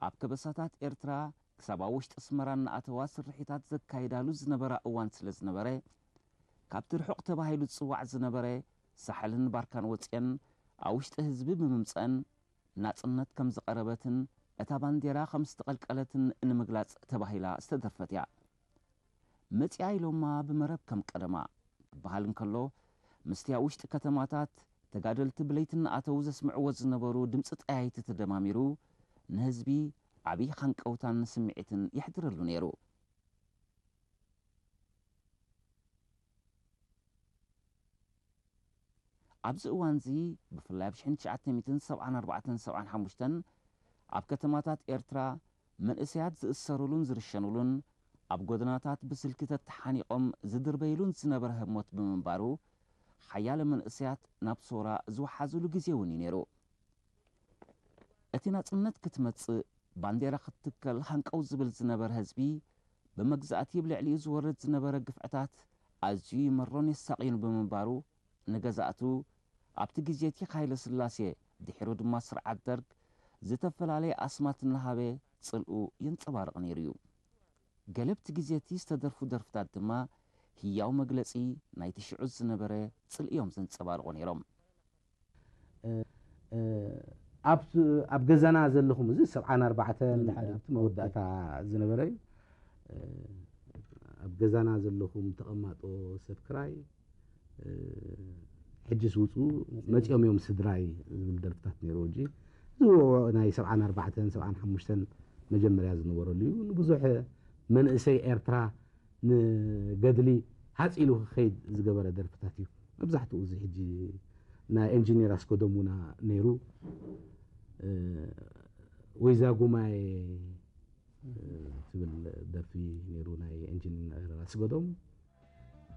ኣብ ከበሳታት ኤርትራ ክሳብ ኣብ ውሽጢ ኣስመራ እናኣተዋ ስርሒታት ዘካይዳሉ ዝነበራ እዋን ስለ ዝነበረ፣ ካብቲ ርሑቕ ተባሂሉ ዝጽዋዕ ዝነበረ ሳሕልን ባርካን ወጺኤን ኣብ ውሽጢ ህዝቢ ብምምጸን ናጽነት ከም ዝቐረበትን እታ ባንዴራ ከም ዝተቐልቀለትን ንምግላጽ ተባሂላ ዝተደርፈት እያ። መጺኣ ኢሎማ ብመረብ ከም ቀደማ ክበሃል እንከሎ፣ ምስቲ ኣብ ውሽጢ ከተማታት ተጋደልቲ ብለይቲ እናኣተዉ ዘስምዕዎ ዝነበሩ ድምጺ ጠያይቲ ተደማሚሩ ንህዝቢ ዓብዪ ሃንቀውታን ስምዒትን የሕድረሉ ነይሩ። ኣብዚ እዋንዚ ብፍላይ ኣብ ሽሕን ትሽዓተ ሚእትን ሰብዓን ኣርባዕተን ሰብዓን ሓሙሽተን ኣብ ከተማታት ኤርትራ መንእሰያት ዝእሰሩሉን ዝርሸኑሉን ኣብ ጎደናታት ብስልኪ ተተሓኒቖም ዝድርበይሉን ዝነበረ ህሞት ብምንባሩ ሓያለ መንእሰያት ናብ ሶራ ዝወሓዙሉ ግዜ እውን እዩ ነይሩ። እቲ ናጽነት ክትመጽእ ባንዴራ ክትትከል ሃንቀው ዝብል ዝነበረ ህዝቢ ብመግዛእቲ ብልዕሊኡ ዝወርድ ዝነበረ ግፍዕታት ኣዝዩ ይመሮን የሳቕዩን ብምንባሩ ንገዛእቱ ኣብቲ ግዜ እቲ ሃይለ ስላሴ ድሒሩ ድማ ስርዓት ደርግ ዝተፈላለየ ኣስማት እናሃበ ጽልኡ የንጸባርቕ ነይሩ እዩ። ገለብቲ ግዜ እቲ ዝተደርፉ ደርፍታት ድማ ህያው መግለጺ ናይቲ ሽዑ ዝነበረ ጽልኢ እዮም ዘንጸባርቑ ነይሮም። ኣብ ገዛና ዘለኹም እዚ ሰብዓን ኣርባዕተን ኣብቲ መወዳእታ ዝነበረ እዩ። ኣብ ገዛና ዘለኹም ተቐማጦ ሰብ ክራይ ሕጅስ ውፁ መፂኦም እዮም ስድራይ ዝብል ደርፍታት ነይሩ። ሕጂ እዚ ናይ ሰብዓን ኣርባዕተን ሰብዓን ሓሙሽተን መጀመርያ ዝነበረሉ እዩ። ንብዙሕ መንእሰይ ኤርትራ ንገድሊ ሃፅ ኢሉ ክኸይድ ዝገበረ ደርፍታት እዩ። መብዛሕትኡ እዚ ሕጂ ናይ ኢንጂነር ኣስገዶም ውና ነይሩ። ወይዛ ጉማይ ትብል ደርፊ ነይሩ ናይ ኢንጂነር ኣስገዶም።